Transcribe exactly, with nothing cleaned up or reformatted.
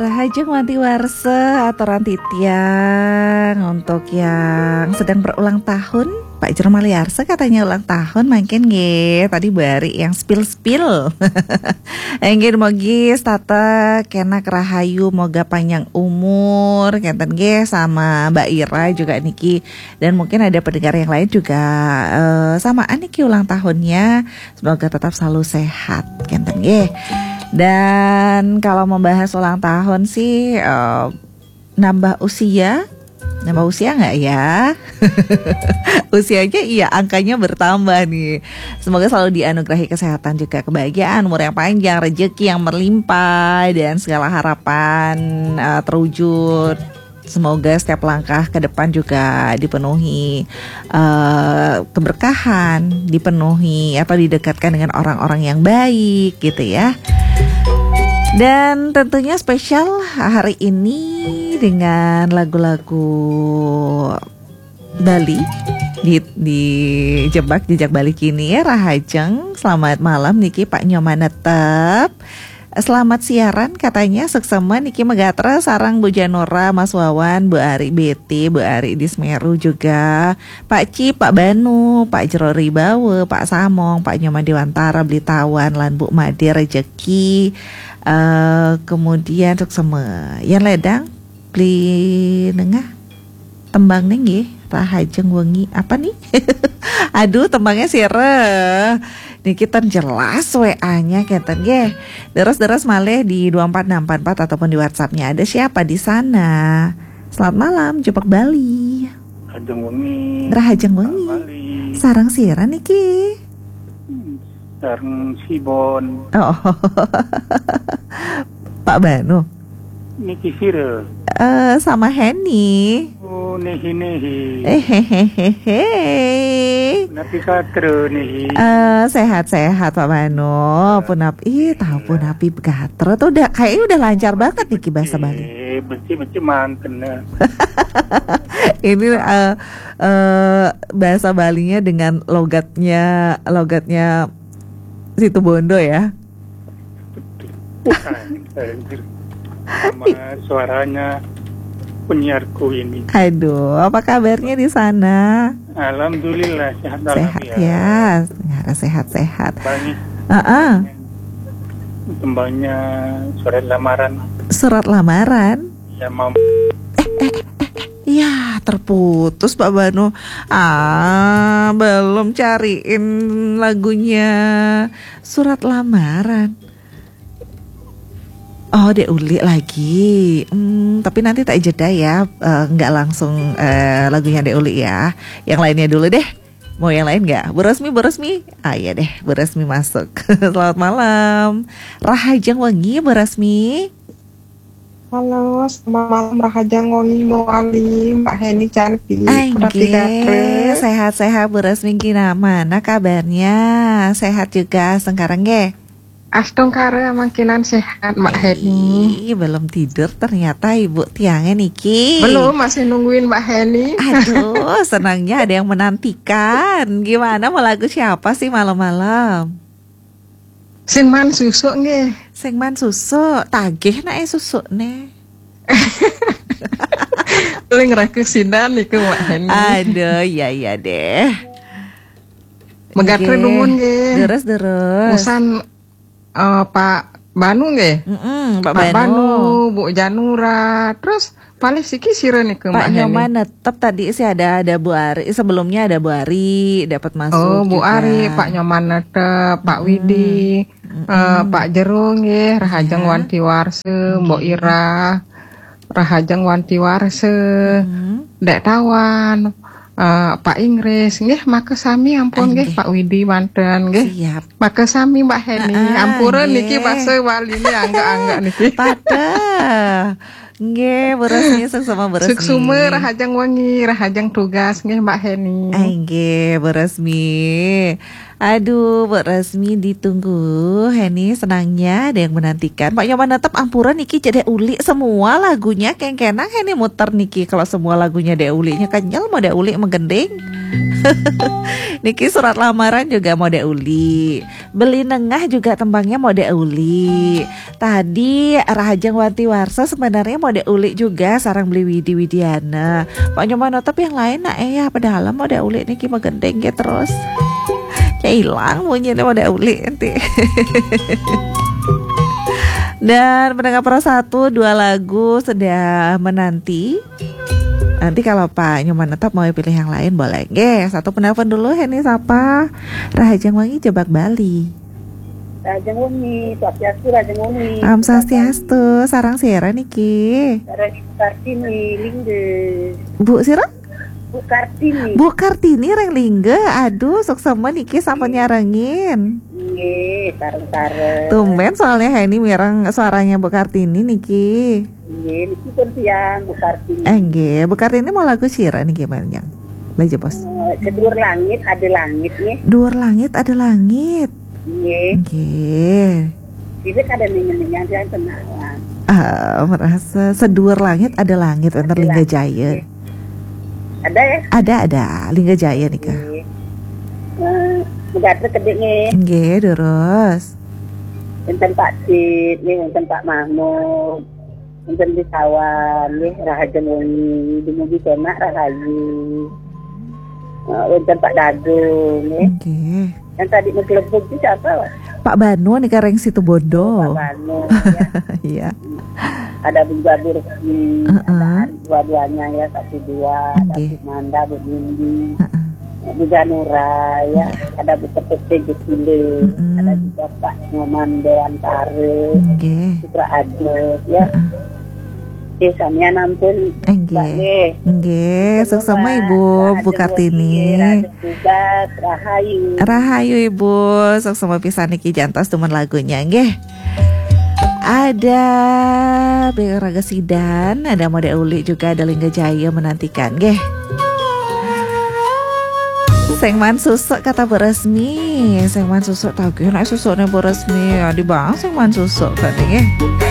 Rahajeng wanti warsa, aturan titiang untuk yang sedang berulang tahun. Pak Jero Maliarsa katanya ulang tahun, mangkin nggih. Tadi Bu Ari yang spill-spill. Nggih, mogi setata kenak rahayu, moga panjang umur, kenten nggih, sama Mbak Ira juga niki. Dan mungkin ada pendengar yang lain juga, eh, samaan niki ulang tahunnya. Semoga tetap selalu sehat, kenten nggih. Dan kalau membahas ulang tahun sih, eh, nambah usia, nambah usia nggak ya? Usianya, iya, angkanya bertambah nih. Semoga selalu dianugerahi kesehatan juga, kebahagiaan, umur yang panjang, rezeki yang melimpah, dan segala harapan, eh, terwujud. Semoga setiap langkah ke depan juga dipenuhi, eh, keberkahan, dipenuhi atau didekatkan dengan orang-orang yang baik gitu ya. Dan tentunya spesial hari ini dengan lagu-lagu Bali di, di Jebak Jejak Bali Kini ya, Rahajeng. Selamat malam niki Pak Nyoman Netep. Selamat siaran katanya, suksma niki megatra sareng Bu Janora, Mas Wawan, Bu Ari Beti, Bu Ari di Semeru juga, Pak Ci, Pak Banu, Pak Jero Ribawa, Pak Samong, Pak Nyoman Dewantara, Beli Tawan, lan Bu Made Rejeki. Eh, kemudian suksma. Yan ledang, Beli Nengah. Tembang nggih, Rahajeng Wengi. Apa nih? Aduh, tembangnya sira. Niki ten jelas W A-nya kenten nggih. Deres-deres malih di dua empat enam empat empat ataupun di WhatsApp-nya. Ada siapa di sana? Selamat malam, Jebak Bali. Rahajeng Wengi. Rahajeng Wengi. Bali. Sareng sira niki? Hmm, sareng Sibon. Oh. Pak Banu. Niki sira? Eh, sama Heni. Oh, nehi-nehi. Eh, hehehe. Napi katra nehi? Eh, sehat-sehat Pak Banu. Punap, ih, tahu punapi gatra tuh udah kayaknya udah lancar banget niki bahasa Bali. Eh, benci-benci manten. Ini, eh, eh, bahasa Balinya dengan logatnya, logatnya Situbondo ya. Bukan, anjir. Sama suaranya penyiarku ini. Aduh, apa kabarnya di sana? Alhamdulillah, sehat. Sehat walafiat. Ya, sehat-sehat. Banyak. Heeh. Tembangnya surat lamaran. Surat lamaran? Ya, mau. Ya, terputus Pak Banu. Ah, belum cariin lagunya surat lamaran. Oh, Dek Uli lagi. Hmm, tapi nanti tak jeda ya. Eh, nggak langsung, eh, lagunya Dek Uli ya. Yang lainnya dulu deh. Mau yang lain nggak? Bu Rosmi, Bu Rosmi. Ah, iya deh, Bu Rosmi masuk. Selamat malam. Rahajeng Wengi, Bu Rosmi. Halo, selamat malam Rahajeng Wengi, Bu Ali, Mbak Heni cantik. Ai, nggih, sehat-sehat Bu Rosmi, gimana kabarnya? Sehat juga, sengkareng nggih? Astungkara, mangkinan sehat, Mbak Heni. Ih, belum tidur ternyata Ibu tiangnya niki. Belum, masih nungguin Mbak Heni. Aduh, senangnya ada yang menantikan. Gimana, mau lagu siapa sih malam-malam? Sing man susuk nggih. Sing man susuk, tagih nak eh susuk nih. Paling raku sinan niku Mbak Heni. Aduh, iya, iya deh. Megatre nuwun nggih. Terus, terus. Usan, eh, Pak Banu nggih. Mm-mm, Pak Pak Banu. Banu, Bu Janura, terus paling siki sira niku Pak Mbak Heni. Nyoman Netep tadi sih ada, ada Bu Ari. Sebelumnya ada Bu Ari dapat masuk. Oh, Bu juga. Ari, Pak Nyoman Netep, Pak Hmm. Widi, mm-mm. Eh, Pak Jero nggih, Rahajeng ya. Wanti Warsa, Mbok Ira, Rahajeng Wanti Warsa, hmm. Dek Tawan, eh, Pak Inggris, nggih, maka sami ampun nggih, Pak Widi manten nggih. Siap. Maka sami Mbak Heni, heeh, ampura nggih. Niki basa Bali ini anggak-anggak niki. Patah. Nggih, Bu Resmi, suksma Bu Resmi. Suksma, Rahajeng Wengi, Rahajeng tugas nggih Mbak Heni. Ai, nggih, Bu Resmi. Aduh, Bu Resmi ditunggu. Heni senangnya ada yang menantikan. Pak Nyoman Netep ampura niki cedek uli semua lagunya kengkenang Heni muter niki. Kalau semua lagunya Dek Uli nya kenyal mau Dek Uli menggending. Niki surat lamaran juga mode uli. Beli nengah juga tembangnya mode uli. Tadi Rahajeng Wanti Warsa sebenarnya mode uli juga, sarang beli Widi Widiana. Pak Nyoman Notep yang lain nak, eh, ya, padahal mode uli niki magendeng ya terus. Ya hilang bunyinya mode uli nanti. Dan pendengar Pro satu, dua lagu sudah menanti. Nanti kalau Pak Nyoman Notep mau pilih yang lain boleh. Nggih, satu penelpon dulu, Heni sapa? Rahajeng Wangi Jebak Bali. Rahajeng Wangi, Swastiastu, Rahajeng Wangi. Om Swastiastu, sarang sira niki. Sareng Kartini Lingga. Bu sira? Bu Kartini. Bu Kartini ring Lingga. Aduh, suksma niki sampun nyarengin. Nggih, sareng-sareng. Tumben soalnya Heni mireng suaranya Bu Kartini niki. Nggih, niki pun tiang Bu Kartini. Eh, nggih, Bu Kartini mau lagu sira niki, Manjang? Lagi, Bos. Eh, Seduur Langit Ada Langit nih. Duur Langit Ada Langit. Nggih. Nggih. Ini kada ning-ning yang kenalan. Ah, merasa Seduur Langit Ada Langit, wénten Ada Lingga Langit, Jaya. Nggih. Ada ya? Ada, ada. Lingga Jaya nika. Nggih. Eh, negara kedek nih. Nggih, terus. Wénten Pak Sid, nih, wénten Pak Mahmud. Wénten di Sawan, nggih, Rahajeng Wengi, dumugi kenak rahayu. Eh, wénten Pak Dagung, nggih. Nggih. Yang tadi menggelebuk itu siapa, Pak? Pak Banu nih, kareng Situ Bondo. Pak Banu, ya. Iya. Ada Bu Gabur, hmm, Heeh. Ada dua-duanya ya, satu dua, ada Nggih. Bu Manda, Bu Nindi. Heeh. Bu Janura, ya, ada Bu Ketete Gusile, Mm-mm. Ada juga Pak Nyoman Dewantara, Nggih. Putra Adet, ya. Heeh. Eh, samian ampun, Nggih. Mbak, nggih. Nggih, suksma, Mbak. Ibu, Bu Kartini. Rahayu. Rahayu, Ibu, suksma pisan niki, jantos dumun lagunya, nggih. Ada Beraga Sidan, ada Mode Uli juga, ada Lingga Jaya menantikan, nggih. Sing man susuk kata Bu Resmi, sing man susuk tagih nek susuknya Bu Resmi, ya di bang sing man susuk kan, nggih.